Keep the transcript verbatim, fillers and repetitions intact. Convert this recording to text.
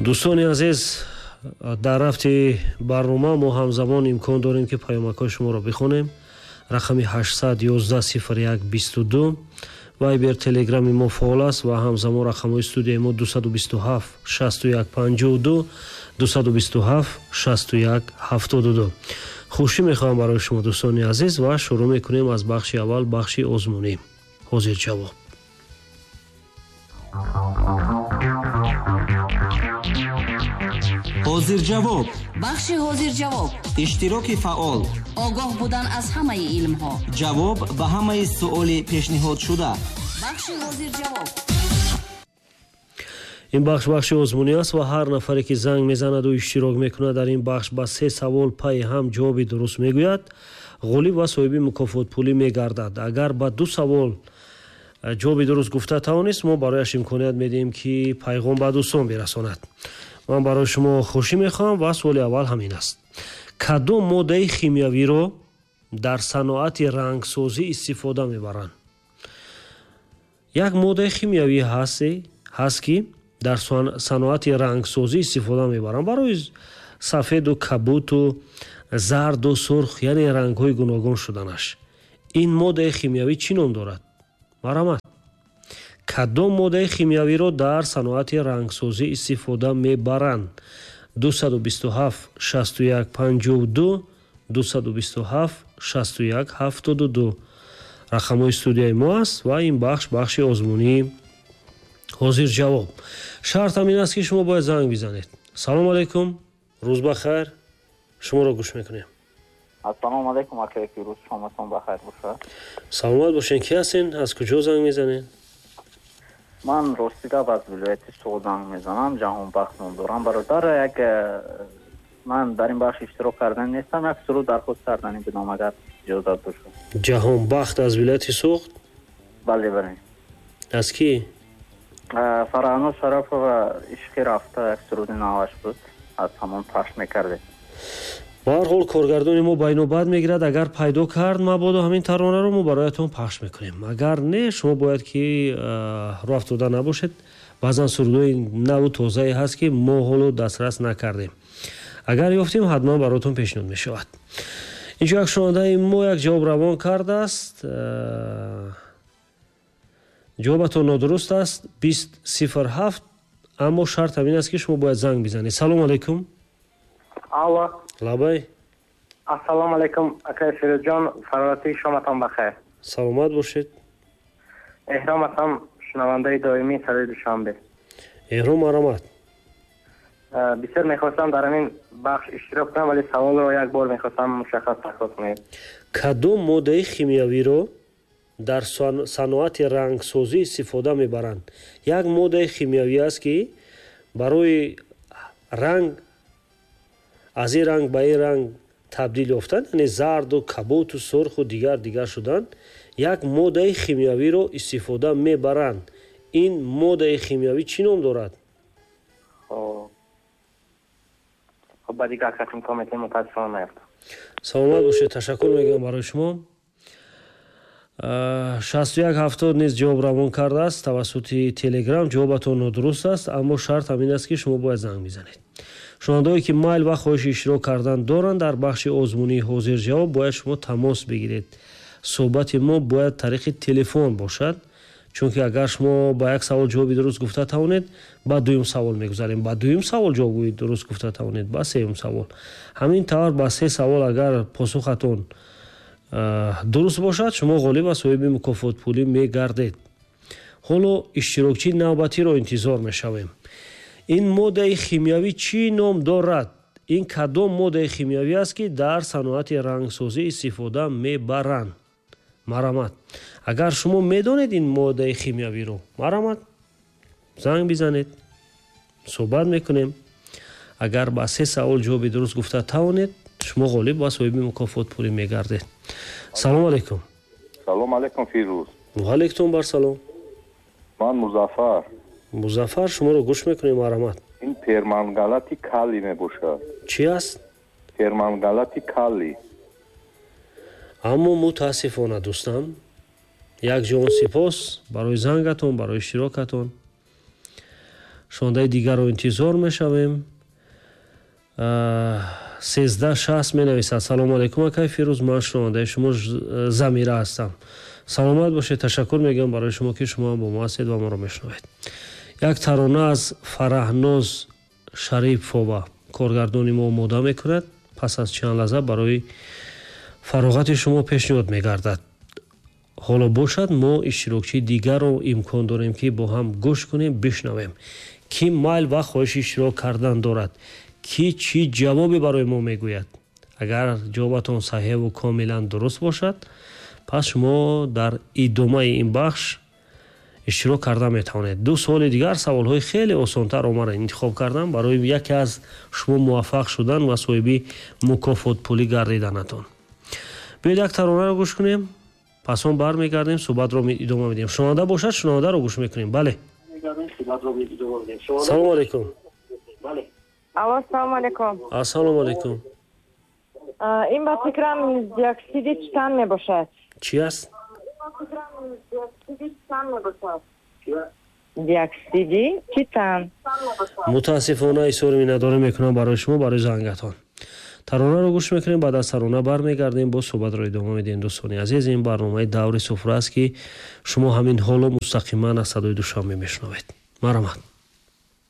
Дӯстони азиз, дар рафти барнома мо ҳамзамон имкон дорем, ки паёмакҳои шуморо бихонем. Рақами ҳаштсад ёздаҳ сифр як бисту ду Вайбер, Телеграми мо фаъол аст ва ҳамзамон рақамҳои студияи мо дусаду бисту ҳафт шасту як панҷоҳу ду, дусаду бисту ҳафт шасту як ҳафтоду ду. Хушӣ мехоҳам барои шумо, дӯстони азиз, ва шурӯъ мекунем аз бахши аввал, бахши озмунӣ. Ҳозир ҷавоб. Ҳозир ҷавоб. Бахши ҳозир ҷавоб. Иштироки фаъол. Огоҳ будан аз ҳамаи илмҳо. Ҷавоб ба ҳамаи суоли пешниҳодшуда. Бахши ҳозир ҷавоб. Ин бахш бахши озмунӣ аст ва ҳар нафаре ки занг мезанаду иштирок мекунад дар ин бахш ба се савол пайи ҳам ҷавоби дуруст мегӯяд, ғолиб ва соҳиби мукофотпулӣ мегардад. Агар ба ду савол ҷавоби дуруст гуфта тавонист, мо барояш имконият медиҳем, ки пайғом ба дӯстон бирасонад. Ман барои шумо хушӣ мехоҳам ва суоли аввал ҳамин аст. Кадом моддаи химиявиро дар саноати рангсозӣ истифода мебаранд? Як моддаи химиявӣ ҳаст, ки дар саноати рангсозӣ истифода мебаранд барои сафеду кабуту зарду сурх, яъне рангҳои гуногун шуданаш. Ин моддаи химиявӣ чӣ ном дорад? Марҳамат. Кадом моддаи химиявиро дар саноати рангсозӣ истифода мебаранд? Дусаду бисту ҳафт шасту як панҷоҳу ду, дусаду бисту ҳафт шасту як ҳафтоду ду. Рақамҳои студияи мо аст ва ин бахш бахши озмунии ҳозир ҷавоб. Шартам ин аст, ки шумо бояд занг бизанед. Салом алайкум, рӯз ба хайр, шуморо гӯш мекунем. Ассалому алайкум, акаи Фирӯз, шоматон ба хайр бошад. Саломат бошед. Ки ҳастен? Аз куҷо занг мезанед? Ман рости гап аз вилояти Суғд занг мезанам, Ҷаҳонбахт ном дорам. Бародар, як ман дар ин бахш иштирок кардан нестам, як суруд дархост кардани будам, агар иҷозат бошад. Ҷаҳонбахт аз вилояти Суғд? Бале, бале. Аз ки? Фарҳано Шарапова, ишқи рафта, як суруди наваш буд, аз ҳамон пахш мекардед. Ба ҳар ҳол коргардони мо байнобат мегирад, агар пайдо кард мабодо ҳамин таронаро мо бароятон пахш мекунем. Агар не, шумо бояд ки роҳ афтода набошед. Баъзан сурудҳои наву тозае ҳаст, ки мо ҳоло дастрас накардем. Агар ёфтем, ҳатман бароятон пешниҳод мешавад. Инҷо як шунавандаи мо як ҷавоб равон кардааст. Ҷавобатон нодуруст аст, бист сифр ҳафт, аммо шарт ҳамин аст, ки шумо бояд занг бизанед. Салом алайкум. Алло. Лабай. Ассалому алайкум, акаи Фирӯзҷон, фароратии шоматон бахайр. Саломат бошед. Эҳром ҳастам, шунавандаи доимии садои Душанбе. Эҳром, марҳамат. Бисёр мехостам дар ҳамин бахш иштирок кунам, вале саволро як бор мехостам мушаххас такрор кунед. Кадом моддаи химиявиро дар саноати рангсозӣ истифода мебаранд? Як моддаи химиявӣ аст, ки барои ранг аз ин ранг ба ин ранг табдил ёфтан, яъне зарду кабуту сурху дигар дигар шудан, як моддаи химиявиро истифода мебаранд. Ин моддаи химиявӣ чӣ ном дорад? Хоб, ба дигар кас имкон медиҳем, мутаассифона наёфтам. Саломат бошед, ташаккур мегӯям барои шумо. Шасту як ҳафтод низ ҷавоб равон кардааст тавассути Телеграм. Ҷавобатон нодуруст аст, аммо шарт ҳамин аст, ки шумо бояд занг бизанед. Шунавандаое ки майл ва хоҳиши иштирок кардан доранд дар бахши озмунии ҳозир ҷавоб, бояд шумо тамос бигиред. Суҳбати мо бояд тариқи телефон бошад, чунки агар шумо ба як савол ҷавоби дуруст гуфта тавонед, ба дуюм савол мегузарем, ба дуюм савол ҷавоби дуруст гуфта тавонед, ба сеюм савол. Ҳамин тавр ба се савол агар посухатон дуруст бошад, шумо ғолиб ва соҳиби мукофотпулӣ мегардед. Ҳоло иштирокчии навбатиро интизор мешавем. Ин моддаи химиявӣ чӣ ном дорад? Ин кадом моддаи химиявӣ аст, ки дар саноати рангсозӣ истифода мебаранд? Марҳамат. Агар шумо медонед ин моддаи химиявиро, марҳамат, занг бизанед, суҳбат мекунем. Агар ба се савол ҷавоби дуруст гуфта тавонед, шумо ғолиб ва соҳиби мукофотпулӣ мегардед. Салом алайкум. Салом алайкум, Фирӯз. Ва алайкум бар салом. Ман Музаффар. Музаффар, шуморо гӯш мекунем, марҳамат. Ин пермангалати калий мебошад. Чӣ аст? Пермангалати калий. Аммо мутаассифона, дӯстам, як ҷон сипос барои зангатон, барои иштирокатон. Шунавандаи дигарро интизор мешавем. Сездаҳ шаст менависад: салому алайкум, акай Фирӯз, ман шунавандаи шумо Замира ҳастам. Саломат бошед, ташаккур мегӯям барои шумо, ки шумо бо мо ҳастед ва моро мешунавед. Як тарона аз Фараҳноз Шарипова коргардони мо омода мекунад, пас аз чанд лаҳза барои фароғати шумо пешниҳод мегардад. Ҳоло бошад, мо иштирокчии дигарро имкон дорем, ки бо ҳам гӯш кунем, бишнавем, ки майл ва хоҳиши иштирок кардан дорад, ки чӣ ҷавобе барои мо мегӯяд. Агар ҷавобатон саҳеҳу комилан дуруст бошад, пас шумо дар идомаи ин бахш иштирок карда метавонед. Ду суоли дигар, саволҳои хеле осонтар омада интихоб кардам барои яке аз шумо муваффақ шудан ва соҳиби мукофотпулӣ гардиданатон. Биёед як таронаро гӯш кунем, пас он бармегардем, суҳбатро идома медиҳем. Шунаванда бошад, шунавандаро гӯш мекунем. Бале, салому алайкум. Алло, салому алайкум. Ассалому алайкум. Ин ба фикрам диоксиди титан мебошад. Чӣ аст? Диоксиди титан. Мутаассифона изҳори миннатдорӣ мекунам барои шумо, барои зангатон. Таронаро гӯш мекунем, баъд аз тарона бармегардем, боз суҳбатро идома медиҳем. Дӯстони азиз, ин барномаи даври суфра аст, ки шумо ҳамин ҳоло мустақиман аз садои Душанбе мешунавед. Марҳамат.